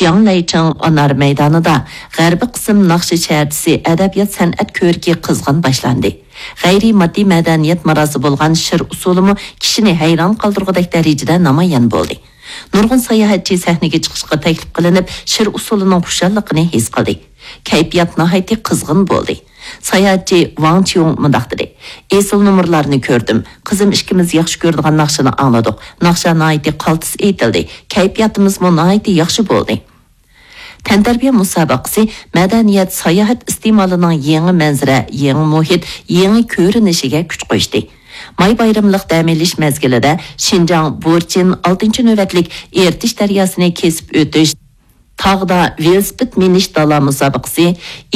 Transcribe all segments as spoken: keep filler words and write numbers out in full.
جياڭلەيچىڭ ئانار مەيدانىدا غەربىي قىسىم ناخشا شەھەرچىسى ئەدەبىيات-سەنئەت كۆرىكى قىزغىن باشلاندى. غەيرىي ماددىي مەدەنىيەت ماراسى بولغان شىر ئۇسسۇلىمۇ كىشىنى ھەيران قالدۇرغۇدەك دەرىجىدە نامايان بولدى. نۇرغۇن ساياھەتچى سەھنىگە چىقىشقا تەكلىپ قىلىنىپ، شىر ئۇسسۇلىنىڭ خۇشاللىقىنى ھېس قىلدى. كەيپىيات ناھايىتى قىزغىن بولدى. ساياھەتچى ۋاڭ چيۇڭ مۇنداق دېدى: «ئېسىل نومۇرلارنى كۆردۈم. قىزىم ئىككىمىز ياخشى كۆرىدىغان ناخشىنى ئاڭلىدۇق. ناخشا ناھايىتى قالتىس ئېيتىلدى. كەيپىياتىمىزمۇ ناھايىتى ياخشى بولدى.» تەنتەربىيە مۇسابىقىسى مەدەنىيەت، ساياھەت ئىستېمالىنىڭ يېڭى مەنزىرە، يېڭى مۇھىت، يېڭى كۆرۈنۈشىگە كۈچ قوشتى. ماي بايرىملىق دەم ئېلىش مەزگىلىدە شىنجاڭ بۇرچىن ئالتىنچى نۆۋەتلىك ئېرتىش دەرياسىنى كېسىپ ئۆتۈش، تاغدا ۋېلىسىپىت مىنىش دالا مۇسابىقىسى،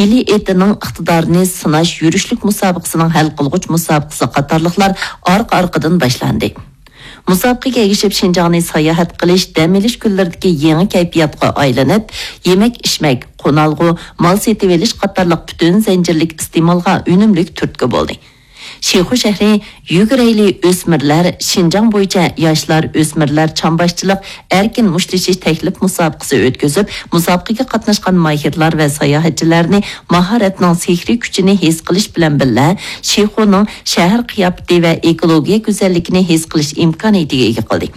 ئىلى ئېتىنىڭ ئىقتىدارىنى سىناش يۈرۈشلۈك مۇسابىقىسىنىڭ ھەل قىلغۇچ مۇسابىقىسى قاتارلىقلار ئارقا-ئارقىدىن باشلاندى. مۇسابىقىگە ئەگىشىپ، شىنجاڭنى ساياھەت قىلىش، دەم ئېلىش كۈنلىرىدىكى يېڭى كەيپىياتقا ئايلىنىپ، يېمەك-ئىچمەك، قونالغۇ، مال سېتىۋېلىش قاتارلىق پۈتۈن زەنجىرلىك ئىستېمالغا ئۈنۈملۈك تۈرتكە بولدى. شىخۇ شەھىرى يۈگۈرەيلى ئۆسمۈرلەر، شىنجاڭ بويىچە ياشلار، ئۆسمۈرلەر چامباشچىلىق، ئەركىن مۇشتلىشىش تەكلىپ مۇسابىقىسى ئۆتكۈزۈپ، مۇسابىقىگە قاتناشقان ماھىرلار ۋە ساياھەتچىلەرنى ماھارەتنىڭ سېھرىي كۈچىنى ھېس قىلىش بىلەن بىللە، شىخۇنىڭ شەھەر قىياپىتى ۋە ئېكولوگىيە گۈزەللىكىنى ھېس قىلىش ئىمكانىيىتىگە ئىگە قىلدى.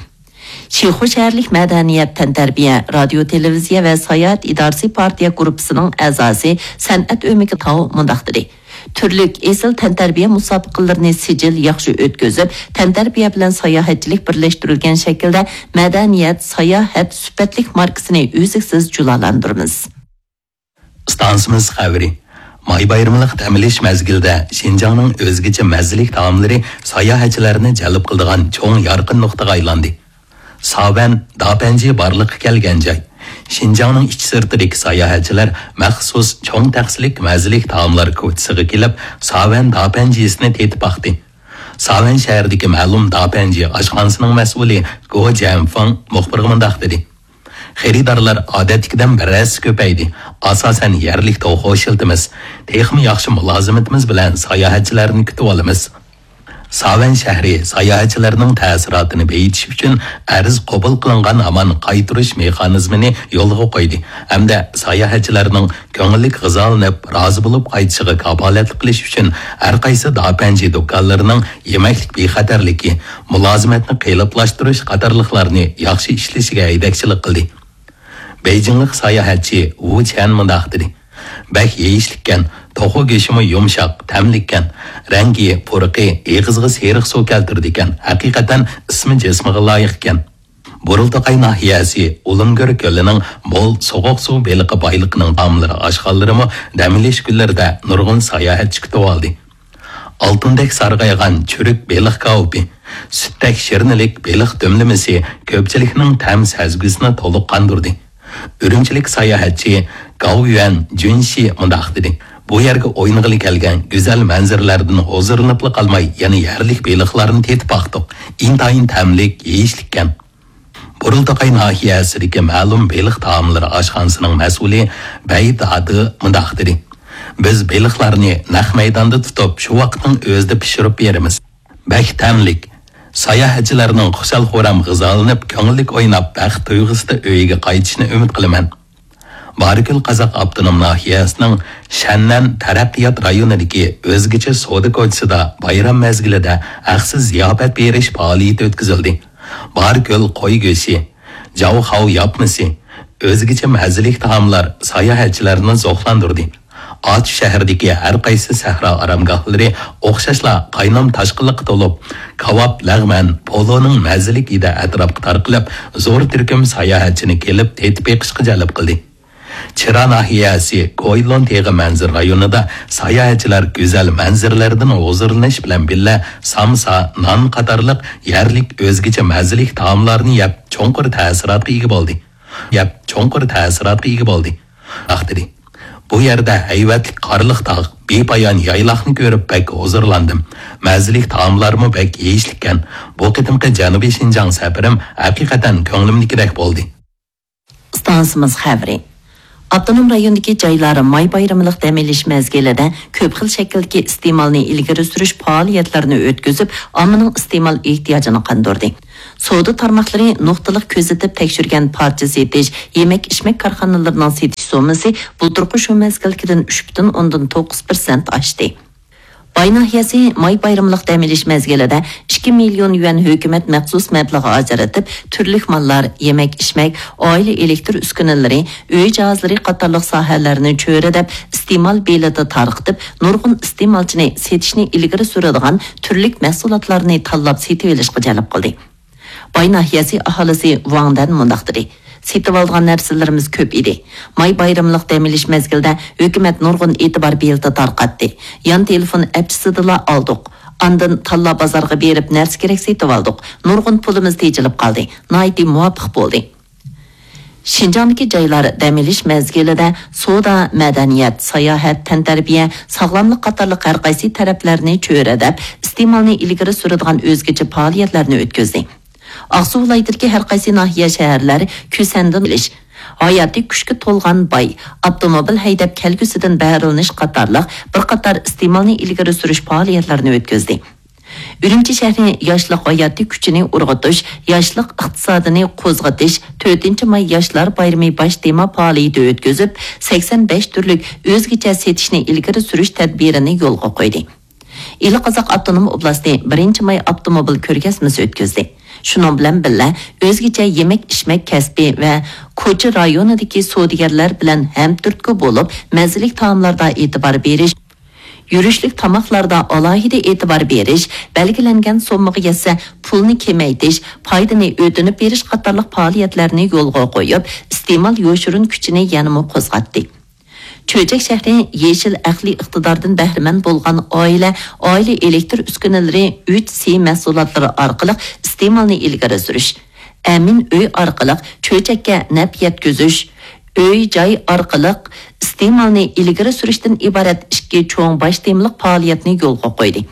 شىخۇ شەھەرلىك مەدەنىيەت، تەنتەربىيە، رادىيو، تېلېۋىزىيە ۋە ساياھەت ئىدارىسى پارتىيە گۇرۇپپىسىنىڭ ئەزاسى سەنئەت ئۆمىكى تاۋ مۇنداق دېدى: «تۈرلۈك ئېسىل تەنتەربىيە مۇسابىقىلىرىنى سىجىل ياخشى ئۆتكۈزۈپ، تەنتەربىيە بىلەن ساياھەتچىلىك بىرلەشتۈرۈلگەن شەكىلدە مەدەنىيەت، ساياھەت سۈپەتلىك ماركىسىنى ئۈزلۈكسىز جۇلالاندۇرىمىز.» ئىستانسىمىز خەۋىرى. ماي بايرىملىق دەم ئېلىش مەزگىلىدە شىنجاڭنىڭ ئۆزگىچە مەززىلىك تائاملىرى ساياھەتچىلەرنى جەلپ قىلىدىغان چوڭ يارقىن نۇقتىغا ئايلاندى. ساۋەن داپەنجى بارلىققا كەلگەن جاي. شىنجاڭنىڭ ئىچ سىرتىدىكى ساياھەتچىلەر مەخسۇس چوڭ تەخسىلىك مەززىلىك تائاملار كوچىسىغا كېلىپ، ساۋەن داپەنجىسىنى تېتىپ باقتى. ساۋەن شەھىرىدىكى مەلۇم داپەنجى ئاشخانىسىنىڭ مەسئۇلى گو جيەنفېڭ مۇخبىرغا مۇنداق دېدى: «خېرىدارلار ئادەتتىكىدىن بىر ھەسسە كۆپەيدى. ئاساسەن يەرلىك توخۇ ئىشلىتىمىز. تېخىمۇ ياخشى مۇلازىمىتىمىز بىلەن ساياھەتچىلەرنى كۈتۈۋالىمىز.» ساۋەن شەھىرى ساياھەتچىلەرنىڭ تەسىراتىنى بېيىتىش ئۈچۈن ئەرز قوبۇل قىلىنغان ھامان قايتۇرۇش مېخانىزمىنى يولغا قويدى ھەمدە ساياھەتچىلەرنىڭ كۆڭۈللۈك غىزالىنىپ، رازى بولۇپ قايتىشىغا كاپالەتلىك قىلىش ئۈچۈن ھەر قايسى داپەنجى دۇكانلىرىنىڭ يېمەكلىك بىخەتەرلىكى، مۇلازىمەتنى قېلىپلاشتۇرۇش قاتارلىقلارنى ياخشى ئىشلىشىگە ھەيدەكچىلىك قىلدى. بېيجىڭلىق ساياھەتچى ۋۇ چيەن مۇنداق دېدى: «بەك يېيىشلىككەن، توخۇ گۆشىمۇ يۇمشاق، تەملىككەن. رەڭگى، پۇرىقى ئېغىزغا سېرىق سۇ كەلتۈرىدىكەن. ھەقىقەتەن ئىسمى جىسمىغا لايىقكەن.» بۇرۇلتاقاي ناھىيەسى ئۇلۇمگۆر كۆلىنىڭ مول سوغۇق سۇ بېلىقى بايلىقىنىڭ تائاملىرى، ئاشخانىلىرىمۇ دەم ئېلىش كۈنلىرىدە نۇرغۇن ساياھەتچى كۈتۈۋالدى. ئالتۇندەك سارغايغان چۈرۈك بېلىق كاۋىپى، سۈتتەك شىرنىلىك بېلىق دۈملىمىسى كۆپچىلىكنىڭ تەم سەزگۈسىنى تولۇق قاندۇردى. ئۈرۈمچىلىك ساياھەتچى گاۋيۈەن جۈنشى مۇنداق دېدى: «بۇ يەرگە ئوينىغىلى كەلگەن گۈزەل مەنزىرىلەردىن ھۇزۇرلىنىپلا قالماي، يەنە يەرلىك بېلىقلارنى تېتىپ باقتۇق. ئىنتايىن تەملىك، يېيىشلىككەن.» بۇرۇلتاقاي ناھىيەسىدىكى مەلۇم بېلىق تائاملىرى ئاشخانىسىنىڭ مەسئۇلى بەي دادى مۇنداق دېدى: «بىز بېلىقلارنى نەق مەيداندا تۇتۇپ، شۇ ۋاقىتنىڭ ئۆزىدە پىشۇرۇپ بېرىمىز. بەك تەملىك. ساياھەتچىلەرنىڭ خۇشال-خۇرام غىزالىنىپ، كۆڭۈللۈك ئويناپ، بەخت تۇيغۇسىدا ئۆيىگە قايتىشىنى ئۈمىد قىلىمەن.» بارىكۆل قازاق ئاپتونوم ناھىيەسىنىڭ شەننەن تەرەققىيات رايونىدىكى ئۆزگىچە سودا كوچىسىدا بايرام مەزگىلىدە ھەقسىز زىياپەت بېرىش پائالىيىتى ئۆتكۈزۈلدى. بارىكۆل قوي گۆشى، جاۋخاۋ ياپمىسى، ئۆزگىچە مەززىلىك تائاملار ساياھەتچىلەرنى زوقلاندۇردى. ئاتۇش شەھىرىدىكى ھەر قايسى سەھرا ئارامگاھلىرى ئوخشاشلا قاينام تاشقىنلىققا تولۇپ، كاۋاپ، لەغمەن، پولۇنىڭ مەززىلىك ھىدى ئەتراپقا تارقىلىپ، زور تۈركۈم ساياھەتچىنى كېلىپ تېتىپ بېقىشقا جەلپ قىلدى. چىرا ناھىيەسى كويلون تېغى مەنزىرە رايونىدا ساياھەتچىلەر گۈزەل مەنزىرىلەردىن ھۇزۇرلىنىش بىلەن بىللە، سامسا، نان قاتارلىق يەرلىك ئۆزگىچە مەززىلىك تائاملارنى يەپ، چوڭقۇر تەسىراتقا ئىگە بولدى. يەپ، چوڭقۇر تەسىراتقا ئىگە بولدى. ئاختىدى. بۇ يەردە ھەيۋەتلىك قارلىق تاغ، بىپايان يايلاقنى كۆرۈپ بەك ھۇزۇرلاندىم. مەززىلىك تائاملارمۇ بەك يېيىشلىككەن. بۇ قېتىمقى جەنۇبىي شىنجاڭ سەپىرىم ھەقىقەتەن كۆڭلۈمدىكىدەك بولدى. ئىستانسىمىز خەۋىرى. ئاپتونوم رايوندىكى جايلار ماي بايرىملىق دەم ئېلىش مەزگىلىدە كۆپ خىل شەكىلدىكى ئىستېمالنى ئىلگىرى سۈرۈش پائالىيەتلىرىنى ئۆتكۈزۈپ، ئاممىنىڭ ئىستېمال ئېھتىياجىنى قاندۇردى. سودا تارماقلىرى نۇقتىلىق كۆزىتىپ تەكشۈرگەن پارچە سېتىش، يېمەك-ئىچمەك كارخانىلىرىنىڭ سېتىش سوممىسى بۇلتۇرقى شۇ مەزگىلدىكىدىن ئۈچ پۈتۈن ئوندىن توققۇز پىرسەنت ئاشتى. باي ناھىيەسى ماي بايرىملىق دەم ئېلىش مەزگىلىدە ئىككى مىليون يۈەن ھۆكۈمەت مەخسۇس مەبلىغى ئاجرىتىپ، تۈرلۈك ماللار، يېمەك-ئىچمەك، ئائىلە ئېلېكتىر ئۈسكۈنىلىرى، ئۆي جاھازلىرى قاتارلىق ساھەلەرنى چۆرىدەپ، ئىستېمال بېلىتى تارقىتىپ، نۇرغۇن ئىستېمالچىنى سېتىشنى ئىلگىرى سۈرىدىغان تۈرلۈك مەھسۇلاتلارنى تاللاپ سېتىۋېلىشقا جەلپ قىلدى. باي ناھىيەسى ئاھالىسى ۋاڭ دەن مۇنداق دېدى: سېتىۋالىدىغان نەرسىلىرىمىز كۆپ ئىدى. ماي بايرىملىق دەم ئېلىش مەزگىلىدە ھۆكۈمەت نۇرغۇن ئېتىبار بېلىتى تارقاتتى. يان تېلېفون ئەپچىسىدىلا ئالدۇق. ئاندىن تاللا بازارغا بېرىپ نەرسە كېرەك سېتىۋالدۇق. نۇرغۇن پۇلىمىز تېجىلىپ قالدى. ناھايىتى مۇۋاپىق بولدى. شىنجاڭدىكى جايلار دەم ئېلىش مەزگىلىدە سودا، مەدەنىيەت، ساياھەت، تەنتەربىيە، ساغلاملىق قاتارلىق ھەر قايسى تەرەپلەرنى چۆرىدەپ، ئىستېمالنى ئىلگىرى سۈرىدىغان ئۆزگىچە پائالىيەتلەرنى ئۆتكۈزدى. ئاقسۇ ۋىلايىتىدىكى ھەر قايسى ناھىيە، شەھەرلەر كۈسەندىن ئېلىش، ھاياتىي كۈچكە تولغان باي، ئاپتوموبىل ھەيدەپ كەلگۈسىدىن بەھرىلىنىش قاتارلىق بىر قاتار ئىستېمالنى ئىلگىرى سۈرۈش پائالىيەتلىرىنى ئۆتكۈزدى. ئۈرۈمچى شەھىرى ياشلىق ھاياتىي كۈچىنى ئۇرغۇتۇش، ياشلىق ئىقتىسادىنى قوزغىتىش تۆتىنچى ماي ياشلار بايرىمى باش تېما پائالىيىتى ئۆتكۈزۈپ، سەكسەن بەش تۈرلۈك ئۆزگىچە سېتىشنى ئىلگىرى سۈرۈش تەدبىرىنى يولغا قويدى. ئىلى قازاق ئاپتونوم ئوبلاستى بىرىنچى ماي ئاپتوموبىل كۆرگەزمىسى ئۆتكۈزدى. شۇنىڭ بىلەن بىللە، ئۆزگىچە يېمەك-ئىچمەك كەسپى ۋە كوچا رايونىدىكى سودىگەرلەر بىلەن ھەمتۈرتكە بولۇپ، مەززىلىك تائاملاردا ئېتىبار بېرىش، يۈرۈشلۈك تاماقلاردا ئالاھىدە ئېتىبار بېرىش، بەلگىلەنگەن سوممىغا يەتسە، پۇلنى كېمەيتىش، پايدىنى ئۆتۈنۈپ بېرىش قاتارلىق پائالىيەتلەرنى يولغا قويۇپ، ئىستېمال يوشۇرۇن كۈچىنى يەنىمۇ قوزغاتتى. چۆچەك شەھىرى يېشىل ئەقلىي ئىقتىداردىن بەھرىمەن بولغان ئائىلە، ئائىلە ئېلېكتىر ئۈسكۈنىلىرى ئۈچ سى مەھسۇلاتلىرى ئارقىلىق ئىستېمالنى ئىلگىرى سۈرۈش، ئەمىن ئۆي ئارقىلىق چۆچەككە نەپ يەتكۈزۈش، ئۆي جاي ئارقىلىق ئىستېمالنى ئىلگىرى سۈرۈشتىن ئىبارەت ئىككى چوڭ باش تېمىلىق پائالىيەتنى يولغا قويدى.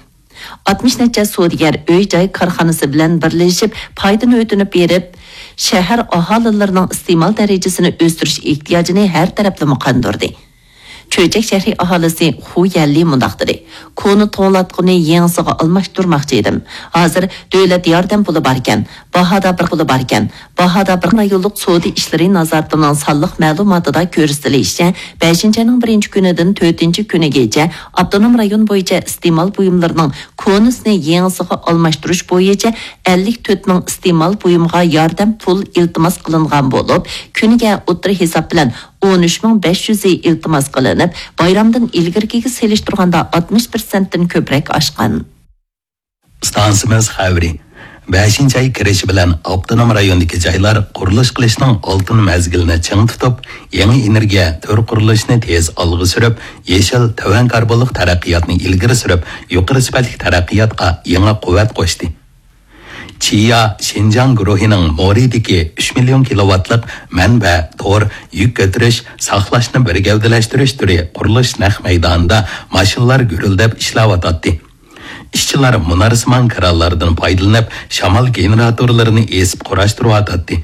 ئاتمىش نەچچە سودىگەر ئۆي جاي كارخانىسى بىلەن بىرلىشىپ پايدىنى ئۆتۈنۈپ بېرىپ، شەھەر ئاھالىلىرىنىڭ ئىستېمال دەرىجىسىنى ئۆستۈرۈش ئېھتىياجىنى ھەر تەرەپلىمە قاندۇردى. چۆچەك شەھىرى ئاھالىسى خۇ يەنلى مۇنداق دېدى: كونا توڭلاتقۇنى يېڭىسىغا ئالماشتۇرماقچى ئىدىم. ھازىر دۆلەت ياردەم پۇلى باركەن، باھادا بىر پۇلى باركەن. باھادا بىر رايونلۇق سودا ئىشلىرى نازارىتىنىڭ سانلىق مەلۇماتىدا كۆرسىتىلىشىچە، بەشىنچى ئاينىڭ بىرىنچى كۈنىدىن تۆتىنچى كۈنىگىچە ئاپتونوم رايون بويىچە ئىستېمال بۇيۇملىرىنىڭ كونىسىنى يېڭىسىغا ئالماشتۇرۇش بويىچە ئەللىك تۆت مىڭ ئىستېمال بۇيۇمغا ياردەم پۇل ئىلتىماس قىلىنغان بولۇپ، كۈنىگە ئوتتۇرا ھېساب بىلەن ئون ئۈچ مىڭ بەش يۈزى ئىلتىماس قىلىنىپ، بايرامدىن ئىلگىرىكىگە سېلىشتۇرغاندا ئاتمىش پىرسەنتتىن كۆپرەك ئاشقان. ئىستانسىمىز خەۋىرى. بەشىنچى ئاي كىرىشى بىلەن ئاپتونوم رايوندىكى جايلار قۇرۇلۇش قىلىشنىڭ ئالتۇن مەزگىلىنى چىڭ تۇتۇپ، يېڭى ئېنېرگىيە تۈر قۇرۇلۇشىنى تېز ئالغا سۈرۈپ، يېشىل، تۆۋەن كاربونلۇق تەرەققىياتنى ئىلگىرى سۈرۈپ، يۇقىرى سۈپەتلىك تەرەققىياتقا يېڭى قۇۋۋەت قوشتى. چىيا شىنجاڭ گۇرۇھىنىڭ مورىدىكى ئۈچ مىليون كىلوۋاتلىق مەنبە تور يۈك كۆتۈرۈش، ساقلاشنى بىر گەۋدىلەشتۈرۈش تۈرى قۇرۇلۇش نەق مەيدانىدا ماشىنىلار گۈرۈلدەپ ئىشلەۋاتاتتى. ئىشچىلار مۇنارسىمان كىرانلاردىن پايدىلىنىپ، شامال گېنېراتورلىرىنى ئېسىپ قۇراشتۇرۇۋاتاتتى.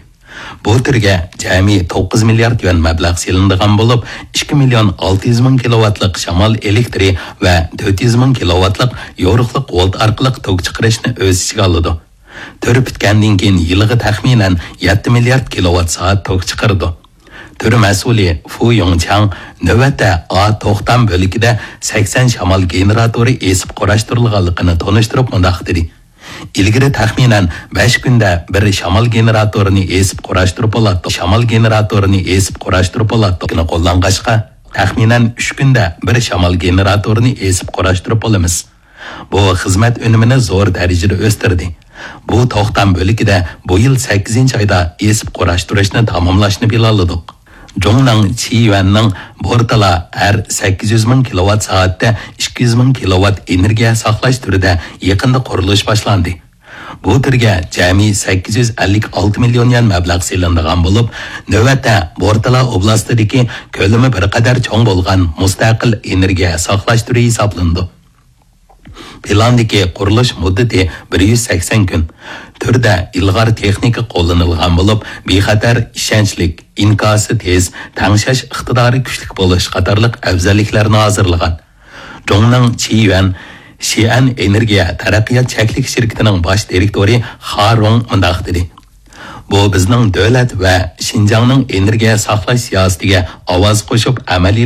بۇ تۈرگە جەمئىي توققۇز مىليارد يۈەن مەبلەغ سېلىنىدىغان بولۇپ، ئىككى مىليون ئالتە يۈز مىڭ كىلوۋاتلىق شامال ئېلېكتىرى ۋە تۆت يۈز مىڭ كىلوۋاتلىق يورۇقلۇق ۋولت ئارقىلىق توك چىقىرىشنى ئۆز ئىچىگە ئالىدۇ. تۈر پۈتكەندىن كېيىن يىلىغا تەخمىنەن يەتتە مىليارد كىلوۋات سائەت توك چىقىرىدۇ. تۈر مەسئۇلى فۇ يۇڭچاڭ نۆۋەتتە ئا توختام بۆلىكىدە سەكسەن شامال گېنېراتورى ئېسىپ قۇراشتۇرۇلغانلىقىنى تونۇشتۇرۇپ مۇنداق دېدى: ئىلگىرى تەخمىنەن بەش كۈندە بىر شامال گېنېراتورىنى ئېسىپ قۇراشتۇرۇپ بولاتتۇق. شامال گېنېراتورىنى ئېسىپ قۇراشتۇرۇپ بولاتتۇق. قوللانغاچقا، تەخمىنەن ئۈچ كۈندە بىر شامال گېنېراتورىنى ئېسىپ قۇراشتۇرۇپ بولىمىز. بۇ خىزمەت ئۈنۈمىنى زور دەرىجىدە ئۆستۈردى. بۇ توختام بۆلىكىدە بۇ يىل سەككىزىنچى ئايدا ئېسىپ قۇراشتۇرۇشنى تاماملاشنى پىلانلىدۇق. جۇڭنىڭ چىيۈەننىڭ بورتالا ھەر سەككىز يۈز مىڭ كىلوۋات سائەتتە ئىككى يۈز مىڭ كىلوۋات ئېنېرگىيە ساقلاش تۈرىدە يېقىندا قۇرۇلۇش باشلاندى. بۇ تۈرگە جەمئىي سەككىز يۈز ئەللىك ئالتە مىليون يۈەن مەبلەغ سېلىنىدىغان بولۇپ، نۆۋەتتە بورتالا ئوبلاستىدىكى كۆلىمى بىر قەدەر چوڭ بولغان مۇستەقىل ئېنېرگىيە ساقلاش تۈرى ھېسابلىنىدۇ. پىلاندىكى قۇرۇلۇش مۇددىتى بىر يۈز سەكسەن كۈن. تۈردە ئىلغار تېخنىكا قوللىنىلغان بولۇپ، بىخەتەر، ئىشەنچلىك، ئىنكاسى تېز، تەڭشەش ئىقتىدارى كۈچلۈك بولۇش قاتارلىق ئەۋزەللىكلەرنى ھازىرلىغان. جۇڭنىڭ چىيۈەن شىئەن ئېنېرگىيە تەرەققىيات چەكلىك شىركىتىنىڭ باش دىرېكتورى خا رۇڭ مۇنداق دېدى: بۇ بىزنىڭ دۆلەت ۋە شىنجاڭنىڭ ئېنېرگىيە ساقلاش سىياسىتىگە ئاۋاز قوشۇپ ئەمەلىي